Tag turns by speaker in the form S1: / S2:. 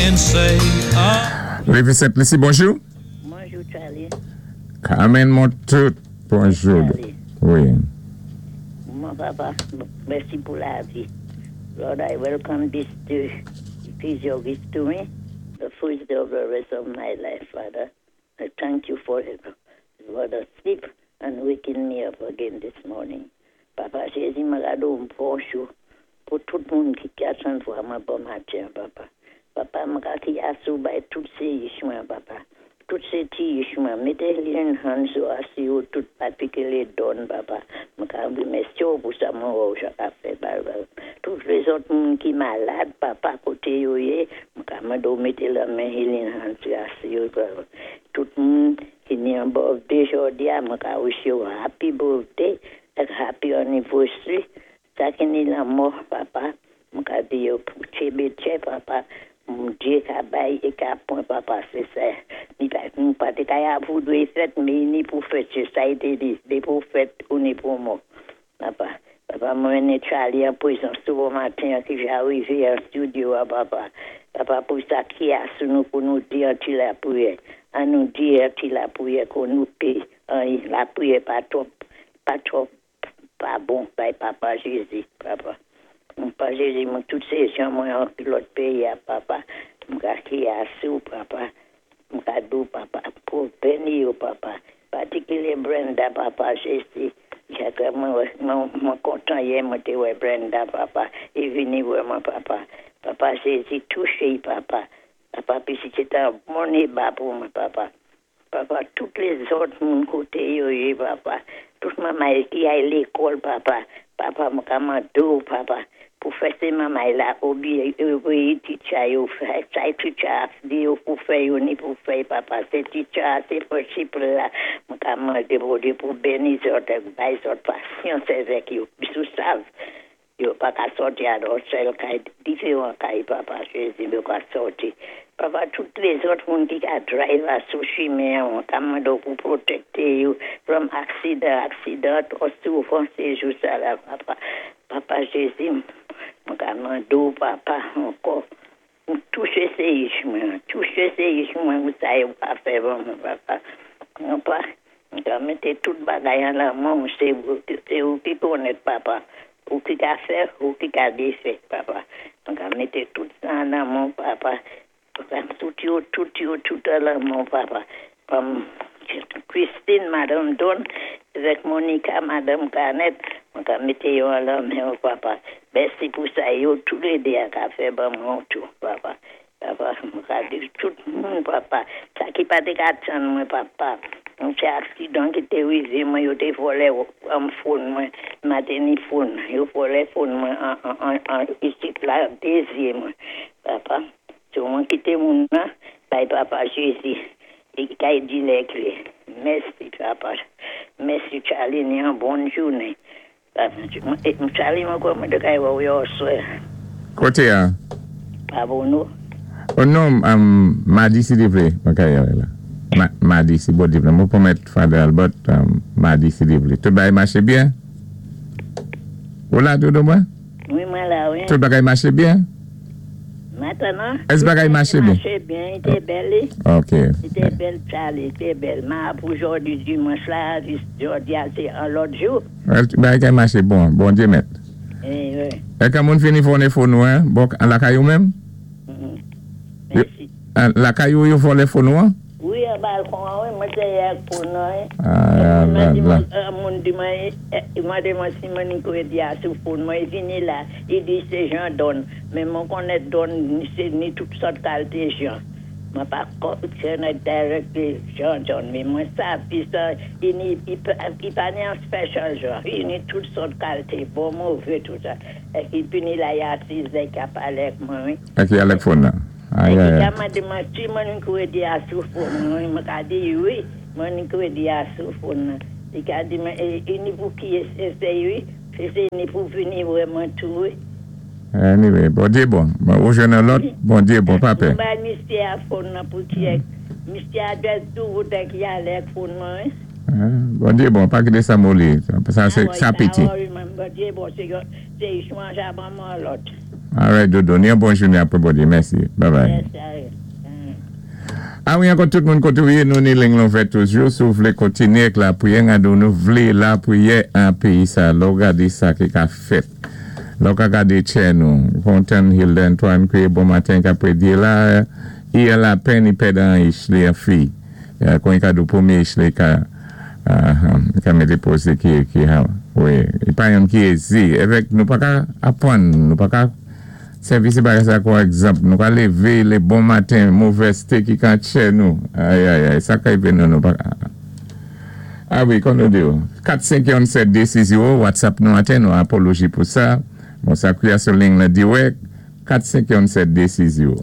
S1: Can't say a.
S2: Rive Sent Lisi, bonjou.
S3: Bonjou Charlie.
S2: Carmen Montout, bonjou.
S3: Charlie.
S2: Wi.
S3: Mon papa, mèsi pou lavi. Lord, I welcome this day. It is your gift to me, the first day of the rest of my life, Father. I thank you for the sleep and waking me up again this morning. Papa Jézi, mwen gado bonjou pou tout moun ki ka vwa mwen bon maten, papa. Papa, mwen ka kriy asou bay tout sé mwen, papa. Tout sé ti mwen. Mété healing hands ou asou yo tout patikilé Don, papa. Mwen ka wimèsi ou pou sa mwen wè ou ka fè, papa. Tout lézòt moun ki malad, papa, koté yo yé, mwen ka mandé ou mété lamen healing hands asou yo, papa. Tout moun ki ni an birthday jòdi a, mwen ka wish yo happy birthday ak happy anniversary. Sa ki ni lanmò, papa, mwen ka di yo pou tchébé tché, papa. Bondyé ka bay é ka pwan, papa, sé sa. Ni pa, nou pa té ka ya pou dwé fèt, mé ni pou fèt, sé sa i té di. Ni pou fèt ou ni pou mò. Papa, papa, mwen mété Charlie an pwézans tou bon maten ki ja rivé an studio, a, papa. Papa, pou sa ki a sou nou pou nou di an ti lapriyè. An nou di an ti lapriyè kon nou pé. An, lapriyè pa twòp, pa twòp, pa bon, bay papa Jézi, papa. Papa Jézi, mwen tout sé jan mwen an lòt péyi a, papa. Mwen ka kriy asou, papa. Mwen ka di ou, papa, pou béni yo, papa. Patikilé Brenda, papa Jézi. Jacques, mwen, mwen, mwen kontan yè, mwen té wè Brenda, papa. I vini wè mwen, papa. Papa Jézi, touché, papa. Papa, pi si sé an bon éba pou mwen, papa. Papa, tout lézòt moun koté yo yé, papa. Tout manmay ki ay lékòl, papa. Papa, mwen ka mandé ou, papa. Pou fè sé manmay la obéyi, obéyi teacher yo, fè sa teacher di yo pou fè yo ni pou fè, papa. Sé teacher, sé principal la. Mwen ka mandé Bondyé pou béni zòt, bay zòt pasyans avèk yo. Yo sav, yo pa ka sòti a yon sèl kay, diferan kay, papa Jézi, yo ka sòti. Papa, tout lézòt moun ki ka drive a sou chimen, mwen ka mandé ou pou pwotékté yo from aksidan, aksidan, twò souvan sé jou sa la, papa. Papa Jézi, mwen ka mandé ou, papa, ankò, pou touché sé mwen, touché sé mwen, ou sa yo pa fè ban mwen, papa. Papa, mwen ka mété tout bagay an lamen ou, sé ou ki konnèt, papa. Ou ki ka fè, ou ki ka défè, papa. Mwen ka mété tout sa an lamen, papa. Papa, tout yo, tout yo, tout an lamen, papa. Christine, Madame Don, avèk Monica, Madame Canet, mwen ka mété yo an lamen, papa. Mèsi pou sa yo, tou lé dé a ka fè ban mwen tou, papa. Papa, mwen ka di tout moun, papa. Sa ki pa té ka tann mwen, papa. Mwen sé aksidan ki té rivé mwen, yo té vòlè an phone mwen, m pa té ni phone. Yo vòlè phone mwen an, an, an, an isit la, dézyé mwen. Papa, so mwen kité moun nan, bay papa Jézi. I kay di lè klé. Mèsi, papa. Mèsi, Charlie, ni an bon jounen. Charlie, mwen kwè mwen té kay wè ou yè oswè.
S2: Koté a?
S3: Pa bon nou?
S2: Oh non, madi si Dye vlé, mwen kay wè la. Madi si Bondye vlé. Mwen pwomèt Father Albert, madi si Dye vlé. Tout bagay maché byen? Ou la doudou mwen?
S3: Wi, mwen la, wi.
S2: Tout bagay maché byen?
S3: Mentnan,
S2: Èske bagay maché byen?
S3: Maché byen, i té bèl.
S2: Ok.
S3: I té bèl, Charlie, i té bèl. Ma pou jòdi dimanch la, jòdi a sé an lòt jou.
S2: Bagay kay maché bon, Bondye mèt.
S3: Eh, wi.
S2: È kan moun fini vòlè phone ou, en? Bon, lakay ou menm?
S3: Mèsi.
S2: Lakay ou yo vòlè phone ou an?
S3: Wi, an balkon an, wi, mwen té ak phone nan, wi.
S2: Ah la la.
S3: Moun di mwen, mandé mwen si mwen ni kredi a sou phone mwen, i vini la, i di sé Jean Don, mé mwen konnèt Don, sé ni tout sòt kalité Jean. Mwen pa konnèt directly Jean Don, mé mwen sav pi sa, i ni, i pa ni an special Jean, i ni tout sòt kalité, bon, mové, tout sa. È ki vini la ya sizè ki a palé ak mwen, wi.
S2: È ki alèk phone nan?
S3: È
S2: Ay
S3: ki
S2: ay
S3: ka
S2: ay.
S3: mandé mwen si mwen ni kredi a sou phone mwen, mwen ka di wi, mwen ni kredi a sou phone nan. I ka di mwen, i ni pou ki sé wi, sé ni pou vini wè mwen tou, wi.
S2: Anyway, Bondye bon. Ou jwenn an lòt, Bondye bon, pa pè.
S3: Mwen bay misyé a phone nan pou check. Misyé a just di ou te ki alè ak phone mwen, wi.
S2: Bondye bon, pa kité sa moli. Sa
S3: Ah,
S2: sé
S3: ouais,
S2: sa
S3: pa
S2: piti.
S3: worry mwen, Bondye bon, sé yo, sé chanje ban mwen lòt.
S2: Alright, Dodo. Ni yon bon jounen apwé Bondyé. Mèsi. Bye bye.
S3: Mèsi, Ariel.
S2: A wi, ankò tout moun koté ou yé, nou ni ling lan ouvè toujou. Si ou vlé kontinyé ak lapriyè, gade nou vlé lapriyè an péyi sa. Lè ou gadé sa ki ka fèt. Lè ou ka gadé tchè nou. Kontan Hilda Antoine kwiyé bon maten ka prédyé la. I an lapenn i pèdan an Ishley an fi. Kon i ka dou pwémyé Ishley ka ka mété pozé ki ki ha wi. I pa yonn ki ézé. Évèk nou pa ka apwann, nou pa ka sèvi sé bagay sa kon egzanp. Nou ka lévé lé bon maten movèzté ki ka tchè nou. Ayayay sa ka rivé nou nou pa ka. A wi kon nou di ou. 4 5 1 7 2 6 0 WhatsApp nou atè nou apoloji pou sa. Bon sa kwiya sou ling lan dirèk 4 5 1 7 2 6 0.